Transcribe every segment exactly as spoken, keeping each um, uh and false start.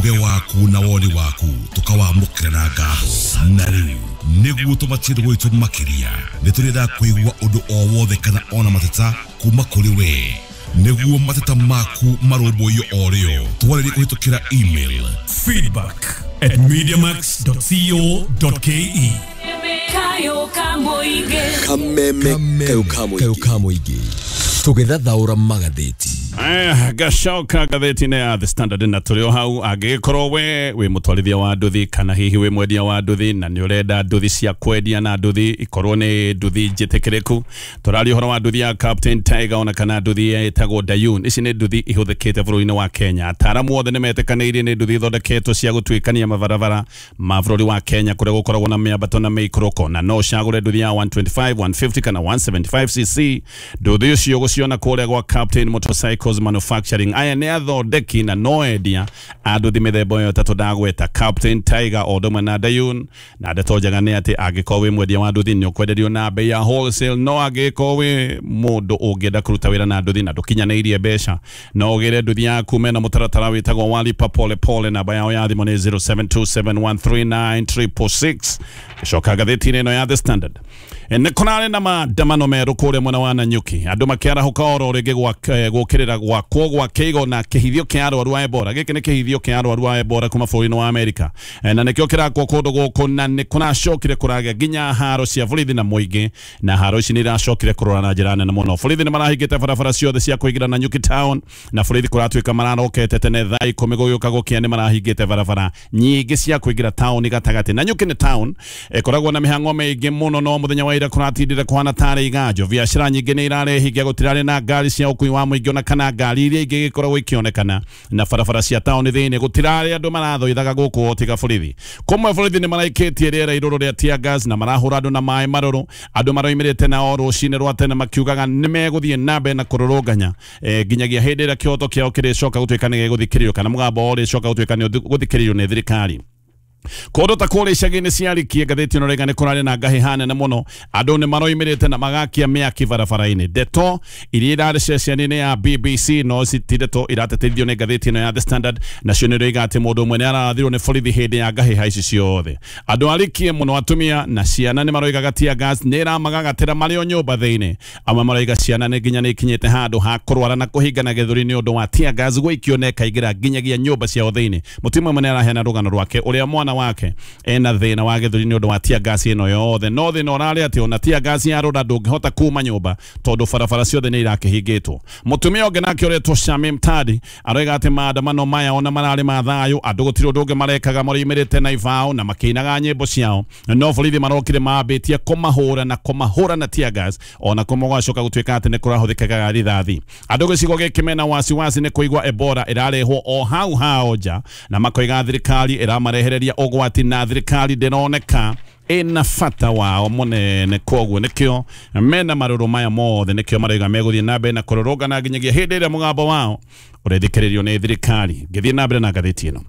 Ujumbe waku na woni waku tukawamũkĩra na ngatho. Na rĩu nĩguo tũmatie gwitũ makĩria, nĩ tũrenda kũigua ũndũ o wothe kana ona mateta kuma kũrĩ we. Nĩguo mateta maku marũmbũiyo o rĩo, twarĩrie kũhĩtũkĩra email feedback at mediamax dot co dot ke. Kameme kayo kamuigi tugithathaura magatheti. Eh, gacoka ngatheti-inĩ ya The Standard na tũrĩ o hau. Angĩgĩkorwo we wĩ mũtwarithia wa nduthi kana hihi wĩ mwendia wa nduthi na nĩ ũrenda nduthi cia kwendia na nduthi ikorwo nĩ nduthi njĩtĩkĩrĩku, tũraria ũhoro wa nduthi ya Captain Tiger ona kana nduthi ĩtagwo Dayun. Ici nĩ nduthi ihũthĩkĩte bũrũri-inĩ wa Kenya. Ataaramu othe nĩ metĩkanĩirie nĩ nduthi ithondeketwo cia gũtuĩkania mabarabara ma bũrũri wa Kenya kũrĩa gũkoragwo na mĩambato na mĩikũrũko, na no ũcagũre nduthi ya one twenty-five, one fifty kana one seventy-five c c. Nduthi ũcio ũgũciona kũrĩa gwa Captain Motorcycles Manufacturing. Aya nĩ athondeki na no endia a nduthi mĩthemba ĩyo ĩtatũ ndagweta, Captain Tiger o ũndũ ũmwe na Dayun. Na ndeto njega nĩ atĩ angĩkorwo wĩ mwendia wa nduthi nĩ ũkwenderio na bei ya wholesale, no angĩkorwo wĩ mũndũ ũngĩenda kũruta wĩra na nduthi na ndũkinyanĩirie mbeca, no ũgĩre nduthi yaku mena mũtaratara wĩtagwo walipa pole pole. Namba yao ya thimũ nĩ zero seven two seven one three nine triple six. Gĩcoka ngathĩti-inĩ ĩno ya The Standard, nĩ kũrarĩ na maandamano merũ kũrĩa mwena wa Nanyuki, andũ makĩarahũka oro rĩngĩ gũkĩrĩra gwakwo gwa kĩigo na kĩhithio kĩa arwaru a Ebola. Gĩkĩ nĩ kĩhithio kĩa arwaru a Ebola kuma bũrũri-inĩ wa Amerika, na nĩkĩo kĩrakwo kũndũ gũkũ, na nĩ kũracokire kũragĩa nginya haro cia borithi na mũingĩ, na haro ici nĩ iracokire kũrora na njĩra nene mũno. Borithi nĩ marahingĩte barabara ciothe cia kũingĩra Nanyuki town, na borithi kũratuĩka mararokete tene thaa ikũmi gũgĩũka gũkĩa nĩ marahingĩte barabara nyingĩ cia kũingĩra town gatagatĩ. Nanyuki nĩ town ĩkoragwo na mĩhang'o mĩingĩ mũno, no mũthenya wa ira kũratindire kũhana tarĩ iganjo. Biacara nyingĩ nĩ irarehingia, gũtirarĩ na ngari cia ũkui wa mũingĩ ona kana ngari iria ingĩ gĩkoragwo ikĩonekana, na barabara cia taũni thĩinĩ gũtirarĩ andũ marathoithaga gũkũ tiga borithi. Kũmwe borithi nĩ maraikĩtie rĩera irũrũ rĩa tear gas na marahũra andũ na maĩ marũrũ. Andũ maroimĩrĩte na o rũcinĩ rwa tene makiugaga nĩ megũthiĩ na mbere na kũrũrũnganya nginyagia hĩndĩ ĩrĩa kĩhoto kĩao kĩrĩcoka gũtuĩka nĩ gĩgũthikĩrĩrio kana mũgambo wao ũrĩcoka gũtuĩka nĩ gũthikĩrĩrio nĩ thirikari. Kũndũ ta kũrĩa icagi-inĩ cia Rikie, ngathĩti ĩno rĩga nĩ kũrarĩ na ngahĩha nene mũno. Andũ nĩ maroimĩrĩte na magakia mĩaki barabara-inĩ. Ndeto iria irarĩ ceceni-inĩ ya B B C no ti ndeto iratetithio nĩ ngathĩti ĩno ya The Standard, nacio nĩ iroiga atĩ mũndũ ũmwe nĩ arathirwo nĩ borithi hĩndĩ ya ngahĩha ici ciothe. Andũ a Rikie mũno, atumia na ciana nĩ maroigaga tear gas nĩ ĩramagagatĩra marĩ o nyũmba thĩinĩ. Amwe maroiga ciana nĩ nginya nĩ ikinyĩte handũ ha kũrwara na kũhingana gĩthũri nĩ ũndũ wa tear gas gũikio na ĩkaingĩra nginyagia nyũmba ciao thĩinĩ. Mũtumia ũmwe nĩ araheana rũgano rwake ũrĩa mwana wake ena thĩna wa gĩthũri nĩ ũndũ wa tear gas ĩno yothe, no thĩna ũrarĩ atĩ ona tear gas yarũra ndũngĩhota kuma nyũmba tondũ barabara ciothe nĩ irakĩhingĩtwo. Mũtumia ũngĩ nake ũretwo Shamim Tadi aroiga atĩ maandamano maya ona mararĩ ma thayũ, andũ gũtirĩ ũndũ ũngĩ marekaga, maroimĩrĩte na ibao na makĩinaga nyĩmbo ciao, no borithi marokire mambĩtie kũmahũra na kũmahũra na tear gas, ona kũmwe gwacoka gũtuĩka atĩ nĩ kũrahũthĩkaga rithathi. Andũ gĩcigo gĩkĩ mena wasiwasi nĩ kũigua Ebola ĩrarehwo o hau hao nja, na makoiga thirikari ĩramarehereria ũgwati na thirikari ndĩroneka ĩna bata wao mũnene. Koguo nĩkĩo mena marũrũ maya mothe, nĩkĩo maroiga megũthiĩ na mbere na kũrũrũngana nginyagia hĩndĩ ĩrĩa mũgambo wao ũrethikĩrĩrio nĩ thirikari. Ngĩthiĩ na mbere na ngathĩti ĩno,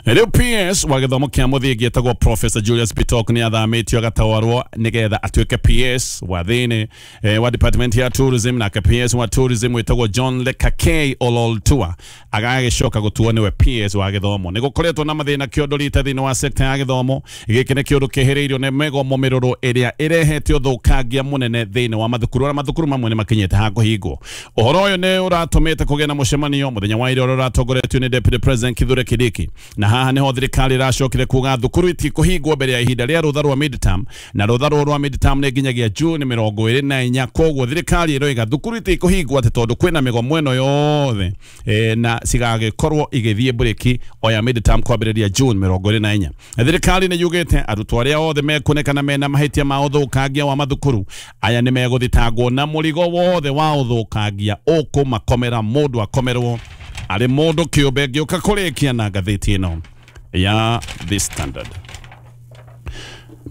rĩu P S wa gĩthomo kĩa mũthingi etagwo Professor Julius Bitok nĩ athamĩtio agatwarwo nĩgetha atuĩke P S wa thĩinĩ eh, wa department ya tourism, nake P S wa tourism wĩtagwo John Lekakei Ololtua agagĩcoka gũtuo nĩwe P S wa gĩthomo. Nĩ gũkoretwo na mathĩna kĩondo rita thĩinĩ wa sector ya gĩthomo. Gĩkĩ nĩ kĩũndũ kĩhĩrĩirio nĩ mĩgomo mĩrũrũ ĩrĩa ĩrehete ũthũkangia mũnene thĩinĩ wa mathukuru, arĩa mathukuru mamwe nĩ makinyĩte ha kũhingwo. Ũhoro ũyũ nĩ ũratũmĩte kũgĩa na mũcemanio mũthenya wa ira ũrĩa ũratongoretio nĩ Deputy President Kithure Kindiki, na haha nĩho thirikari ĩracokire kuga thukuru itikũhingwo mbere ya ihinda rĩa rũtha rwa midterm, na rũtha rũrũ rwa midterm nĩ nginyagia June mĩrongo ĩrĩ na inya. Koguo thirikari ĩroiga thukuru itikũhingwo atĩ tondũ kwĩna mĩgomo ĩno yothe e, na cigagĩkorwo igĩthiĩ mburĩki o ya midterm kwambĩrĩria June mĩrongo ĩrĩ na inya. Thirikari nĩ yugĩte arutwo arĩa othe mekuonekana mena mahĩtia ma ũthũkangia wa mathukuru aya nĩ megũthitangwo na mũrigo wothe wa ũthũkangia ũkũmakomera mũndũ akomerwo arĩ mũndũ kĩũmbe. Ngĩũka kũrĩkia na ngathĩti ĩno ya The Standard,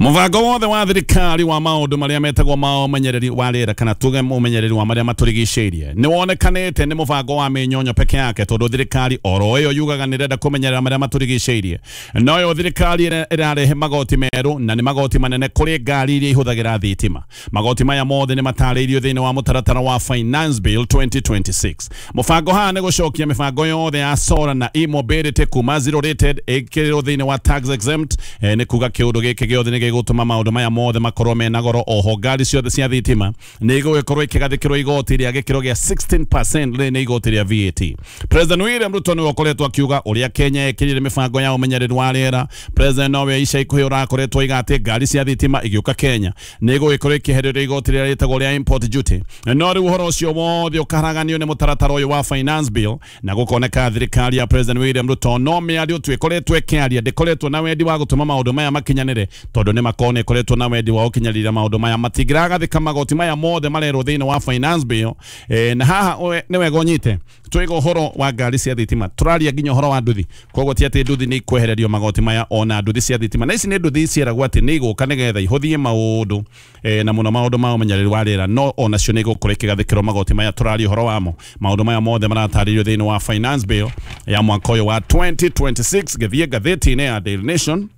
Mũbango wothe wa thirikari wa maũndũ marĩa metagwo ma ũmenyereri wa rĩera kana tuge ũmenyereri wa marĩa matũrigicĩirie nĩ wonekanĩte nĩ mũbango wa mĩnyonyo peke yake, tondũ thirikari oro ĩyo yugaga nĩ ĩrenda kũmenyerera marĩa matũrigicĩirie, noyo thirikari ĩrarehe magoti merũ na nĩ magoti manene kũrĩ ngari iria ihũthagĩra thitima. Magoti maya mothe nĩ matarĩirio thĩinĩ wa mũtaratara wa Finance Bill twenty twenty-six. Mũbango haha nĩ gũcokia mĩbango yothe ya solar na e-mobility kuma zero rated ĩkĩrĩrwo thĩinĩ wa tax exempt, nĩ kuga kĩũndũ gĩkĩ gĩothe nĩ gĩgũtũma maũndũ maya mothe makorwo mena goro. Oho ngari ciothe cia thitima nĩ igũgĩkorwo ikĩgathĩkĩrwo igoti rĩa gĩkĩro gĩa sixteen percent rĩrĩ nĩ igoti rĩa V A T. President William Ruto nĩwe ũkoretwo akiuga ũrĩa Kenya ĩkĩrire mĩbango ya ũmenyereri wa rĩera. President nowe ica ikuhĩ ũrakoretwo oiga atĩ ngari cia thitima igĩũka Kenya nĩ igũgĩkorwo ikĩhererio igoti rĩrĩa rĩtagwo rĩa import duty. No rĩu ũhoro ũcio wothe ũkaharaganio nĩ mũtaratara ũyũ wa Finance Bill, na gũkoneka thirikari ya President William Ruto no mĩario tu ĩkoretwo ĩkĩaria, ndĩkoretwo na wendi wa gũtũma maũndũ maya makinyanĩre, tondũ nĩ makorwo nĩ ĩkoretwo na wendi wa gũkinyarĩra maũndũ maya matingĩragathĩka magoti maya mothe marerwo thĩinĩ wa Finance Bill. E, na haha nĩ wega ũnyite twĩga ũhoro wa ngari cia thitima, tũraria nginya ũhoro wa nduthi, koguo ti atĩ nduthi nĩ ikwehererio magoti maya, ona nduthi cia thitima na ici nĩ nduthi ciĩragwo atĩ nĩ igũka nĩgetha ihũthie maũndũ e, na mũno maũndũ ma ũmenyereri wa rĩera, no onacio nĩ igũkorwo ikĩgathĩkĩrwo magoti maya tũraria ũhoro wamo. Maũndũ maya mothe maratarĩrio thĩinĩ wa Finance Bill ya mwaka ũyũ wa twenty twenty-six. Gĩthiĩ ngathĩti-inĩ ya Daily Nation.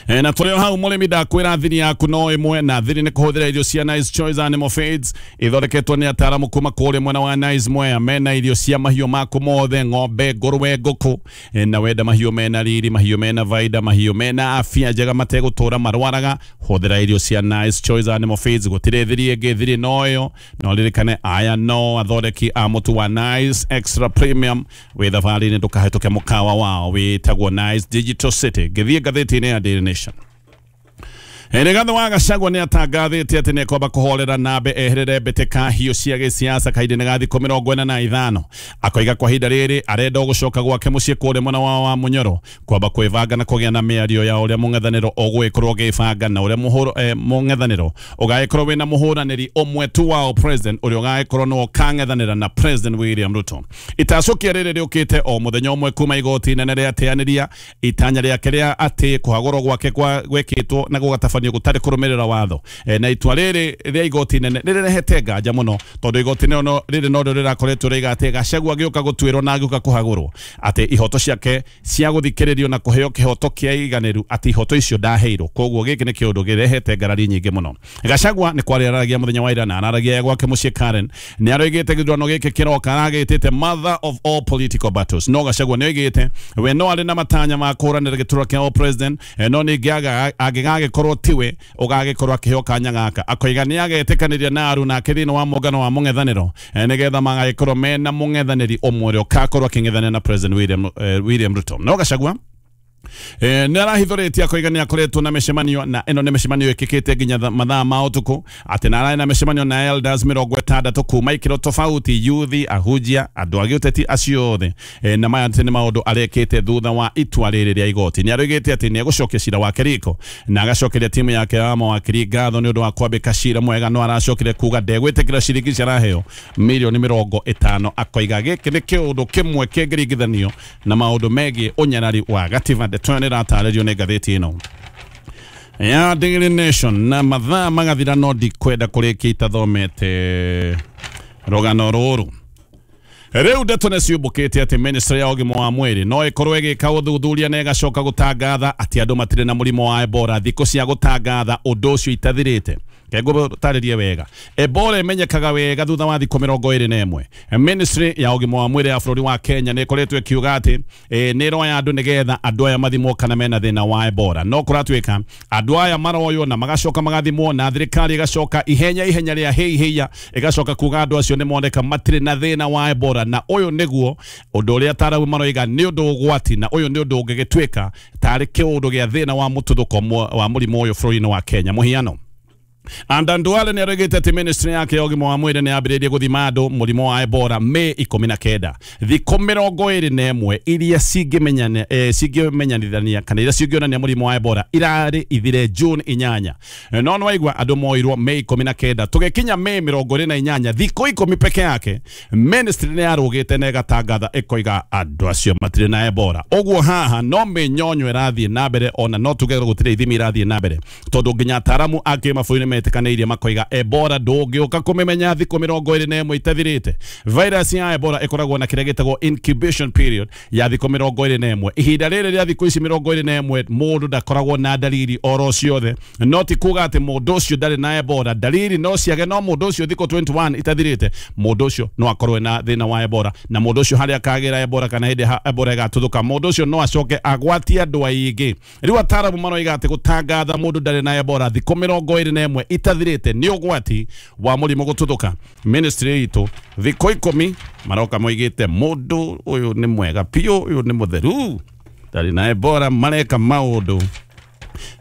E, na tũrĩ o hau mũrĩmi ndakwĩra thiri yaku no ĩmwe, na thiri nĩ kũhũthĩra irio cia Nice Choice Animal Feeds ithondeketwo nĩ ataaramu kuma kũrĩa mwena wa Nice Mwea. Mena irio cia mahiũ maku mothe, ng'ombe, ngũrwe, ngũkũ, e, na wenda mahiũ mena riri, mahiũ mena vaida, mahiũ mena afya njega mategũtũra marwaraga, hũthĩra irio cia Nice Choice Animal Feeds. Gũtirĩ thiri ĩngĩ, thiri no ĩyo. No ririkane aya no athondeki a mũtu wa Nice Extra Premium wĩ thabarĩ-inĩ, ndũkahĩtũke mũkawa wao wĩtagwo Nice Digital City. Gĩthiĩ ngathĩti-inĩ ya Daily Nation. Rigathi wa Gachagua nĩ atangathĩte atĩ nĩekwamba kũhorera nambe eherere mbĩtĩka hiũ cia gĩsiasa kahinda-inĩ ga thikũ mĩrongo ĩna na ithano. Akoiga kwa ihinda rĩrĩ arenda gũcoka gwake mũciĩ kũrĩa mwena wa wa Munyoro kwamba kwĩbanga na kũgĩa na mĩario ya ũrĩa mũng'ethanĩro ũgũgĩkorwo ũgĩbanga na ũrĩa mũhũro mũng'ethanĩro ũgagĩkorwo wĩna mũhũranĩri ũmwe tu wao president ũrĩa ũgagĩkorwo nĩwe ũkang'ethanĩra na President William Ruto. Itacũkia rĩrĩ rĩũkĩte o mũthenya ũmwe kuma igoti inene rĩateanĩria itanya rĩake rĩa atĩ kũhagũrwo gwake kwa gwĩkĩtwo na gũgatabanio gũtarĩ kũrũmĩrĩra watho. E, na itua rĩrĩ rĩa igoti inene rĩrehete nganja mũno, tondũ igoti no rĩrĩ no rĩrakoretwo rĩiga atĩ Gachagua agĩũka gũtuĩrwo na agĩũka kũhagũrwo atĩ ihoto ciake cia gũthikĩrĩrio na kũheo kĩhoto kĩa iganĩru atĩ ihoto icio ndaheirwo. Koguo gĩkĩ nĩ kĩũndũ kĩrehete ngarari nyingĩ mũno. Gachagua nĩ kwaria araragia mũthenya wa ira na araragia gwake mũciĩ Karen, nĩ aroigĩte gĩthurano gĩkĩ kĩroka aragĩtĩte mother of all political battles. No Gachagua nĩ oigĩte we no arĩ na matanya ma kũhũranĩra gĩturwa kĩa president, no ningĩ angĩgagĩkorwo tiwe ũgagĩkorwo akĩheo kanya gaka. Akoiga nĩ agetĩkanĩria na aru nake thĩinĩ wa mũngano wa mũng'ethanĩro nĩgetha magagĩkorwo mena mũng'ethanĩri ũmwe ũrĩa ũgakorwo akĩng'ethanĩra na President William, eh, William Ruto. No Gachagua Eh, nĩ arahithũrĩtie akoiga nĩ akoretwo na mĩcemanio, na ĩno nĩ mĩcemanio ĩkĩkĩte nginya mathaa ma ũtukũ, atĩ na ararĩ na mĩcemanio na elders mĩrongo ĩtandatũ kuma ikĩro tofauti, youth, ahunjia, andũ a gĩũteti acio othe. E, na maya nĩ maũndũ arekĩte thutha wa itua rĩrĩ rĩa igoti. Nĩ aroigĩte atĩ nĩ egũcokia cira wake riko na agacokeria timu yake ya mawakiri ngatho nĩ ũndũ wa kwambĩka cira mwega, no aracokire kuga ndegwĩtĩkĩra ciringi ici araheo mirioni mĩrongo ĩtano. Akoiga gĩkĩ nĩ kĩũndũ kĩmwe kĩngĩringithanio na maũndũ megiĩ ũnyarari wa gatiba. Ndeto ĩyo nĩratarĩrio nĩ ngathĩti ĩno ya Daily Nation. Na mathaa magathira no ndikwenda kũrĩkia itathomete rũgano rũrũ. Rĩu ndeto nĩ ciũmbũkĩte atĩ ministry ya ũgima wa mwĩrĩ no ĩkorwo ĩgĩka ũthuthuria na ĩgacoka gũtangatha atĩ andũ matirĩ na mũrimũ wa Ebola thikũ cia gũtangatha ũndũ ũcio itathirĩte. Kegũtarĩrie wega, Ebola ĩmenyekaga wega thutha wa thikũ mĩrongo ĩrĩ na ĩmwe. Ministry ya ũgima wa mwĩrĩ ya bũrũri wa Kenya nĩ ĩkoretwo ĩkiuga atĩ e, nĩ ĩroya andũ nĩgetha andũ aya mathimwo kana mena thĩna wa Ebola. No kũratuĩka andũ aya maroywo na magacoka magathimwo na thirikari ĩgacoka ihenya ihenya rĩa hei heia ĩgacoka kuga andũ acio nĩ moneka matirĩ na thĩna wa Ebola. Na ũyũ nĩguo ũndũ ũrĩa ataaramu maroiga nĩ ũndũ ũgwati, na ũyũ nĩ ũndũ ũngĩgĩtuĩka tarĩ kĩũndũ gĩa thĩna wa mũtuthũko wa mũrimũ ũyũ bũrũri-inĩ wa Kenya. Mũhiano, Adan Duale nĩ aregete atĩ ministry yake ya ũgima wa mwĩrĩ nĩ yambĩrĩirie gũthima andũ mũrimũ wa Ebola Mei ikũmi na kenda, thikũ mĩrongo ĩrĩ na ĩmwe iria cingĩmenyana eh, cingĩmenyanithania kana iria cingĩonania mũrimũ wa Ebola irarĩ ithire June inyanya. No nĩwaigua andũ moirwo Mei ikũmi na kenda, tũgĩkinya Mei mĩrongo ĩrĩ na inyanya, thikũ ikũmi peke yake ministry nĩ yarũgĩte na ĩgatangatha ĩkoiga andũ acio matirĩ na Ebola. Ũguo haha no mĩnyonyo ĩrathiĩ na mbere, ona no tuge gũtirĩ ithimi irathiĩ na mbere tondũ nginya ataaramu a kĩmabũrũri metĩkanĩirie makoiga Ebola ndũngĩũka kũmĩmenya thikũ mĩrongo ĩrĩ na ĩmwe itathirĩte. Virus ya Ebola ĩkoragwo na kĩrĩa gĩtagwo incubation period ya thikũ mĩrongo ĩrĩ na ĩmwe. Ihinda rĩrĩ rĩa thikũ ici mĩrongo ĩrĩ na ĩmwe mũndũ ndakoragwo na dalili oro ciothe, no ti kuga atĩ mũndũ ũcio ndarĩ na Ebola. Dalili no ciage, no mũndũ ũcio thikũ mĩrongo ĩrĩ na ĩmwe itathirĩte mũndũ ũcio no akorwo na thĩna wa Ebola, na mũndũ ũcio harĩa akagĩra Ebola kana hĩndĩ Ebola ĩgatuthũka mũndũ ũcio no acoke agwatie andũ aingĩ. Rĩu ataaramu maroiga atĩ gũtangatha mũndũ ndarĩ na Ebola thikũ mĩrongo ĩrĩ na ĩmwe itathirĩte nĩ ũgwati wa mũrimũ gũtuthũka. Ministry itũ thikũ ikũmi maroka moigĩte mũndũ ũyũ nĩ mwega piũ, ũyũ nĩ mũtheru, ndarĩ na Ebola, mareka maũndũ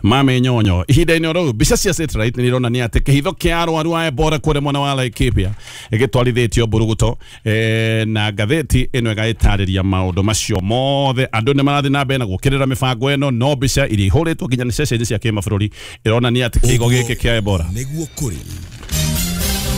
mamenyonyo. Ihinda-inĩ oro mbica cia satellite nĩ ironania atĩ kĩhitho kĩa arwaru a Ebola kũrĩa mwena wa Laikipia gĩtwarithĩtio mburuguto, eh, na ngathĩti ĩno ĩgagĩtarĩria maũndũ macio mothe. Andũ nĩ marathiĩ na mbere na gũkĩrĩra mĩbango ĩno, no mbica iria ihũrĩtwo nginya nĩ ceceni cia kĩmabũrũri ĩronania atĩ kĩhigo gĩkĩ kĩa Ebola nĩguo kũrĩ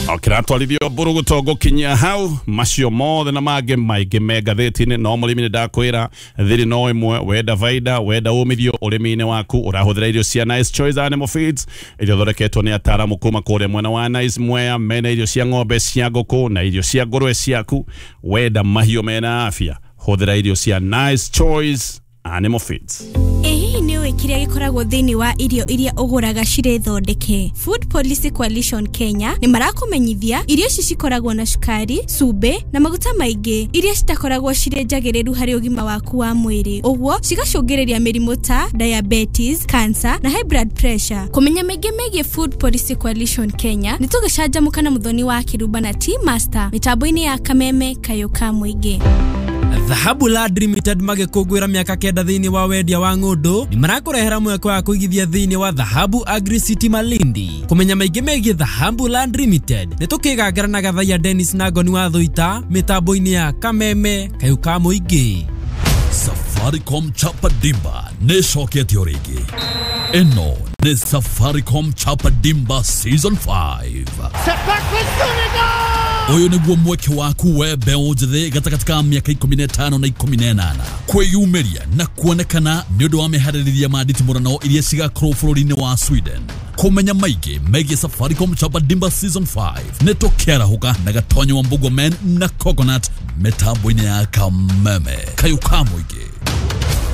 okiratwarithio mburuguto gũkinyia hau. Macio mothe na mangĩ maingĩ me ngathĩti-inĩ. No mũrĩmi nĩ ndakwĩra thiri no ĩmwe, wenda baida, wenda umithio ũrĩmi-inĩ waku, ũrahũthĩra irio cia Nice Choice Animal Feeds iria ithondeketwo nĩ ataaramu kuma kũrĩa mwena wa Nice Mwea. Mena irio cia ng'ombe, cia ngũkũ na irio cia ngũrwe ciaku. Wenda mahiũ mena afya, hũthĩra irio cia Nice Choice Animal Feeds. Ĩ nĩ ũĩ kĩrĩa gĩkoragwo thĩinĩ wa irio iria ũgũraga cirĩ thondeke? Food Policy Coalition Kenya nĩ marakũmenyithia irio ici cikoragwo na cukari, cumbĩ na maguta maingĩ iria citakoragwo cirĩ njagĩrĩru harĩ ũgima waku wa mwĩrĩ, ũguo cigacũngĩrĩria mĩrimũ ta diabetes, cancer na high blood pressure. Kũmenya maingĩ megiĩ Food Policy Coalition Kenya nĩ tũgĩcanjamũka na Mũthoni wa Kĩrumba na Tea Master mĩtambo-inĩ ya Kameme Kayũ ka Mũingĩ. Dhahabu Land Limited magĩkũngũĩra mĩaka kenda thĩinĩ wa wendia wa ng'ũndũ nĩ marakũrehera mweke wa kũigithia thĩinĩ wa Dhahabu Agri City Malindi. Kũmenya maingĩ megiĩ Dhahabu Land Limited nĩ tũkĩgangara na Gathaiya Dennis na Ngoni wa Thũita mĩtambo-inĩ ya Kameme Kayũ ka Mũingĩ. Safaricom Chapa Dimba nĩ ĩcoketio rĩngĩ. Ĩno nĩ Safaricom Chapa Dimba Season five. Ũyũ nĩguo mweke waku we mbeũ njĩthĩ gatagatĩ ka mĩaka ikũmi na ĩtano na ikũmi na ĩnana kwĩyumĩria na kuonekana nĩ ũndũ wa mĩharĩrĩria ma nditimũrano iria cigakorwo bũrũri-inĩ wa Sweden. Kũmenya maingĩ megiĩ Safaricom Chapa Dimba Season five nĩ tũkĩarahũka na Gatonyo wa Mbugua Men na Coconut mĩtambo-inĩ ya Kameme Kayũ ka Mũingĩ.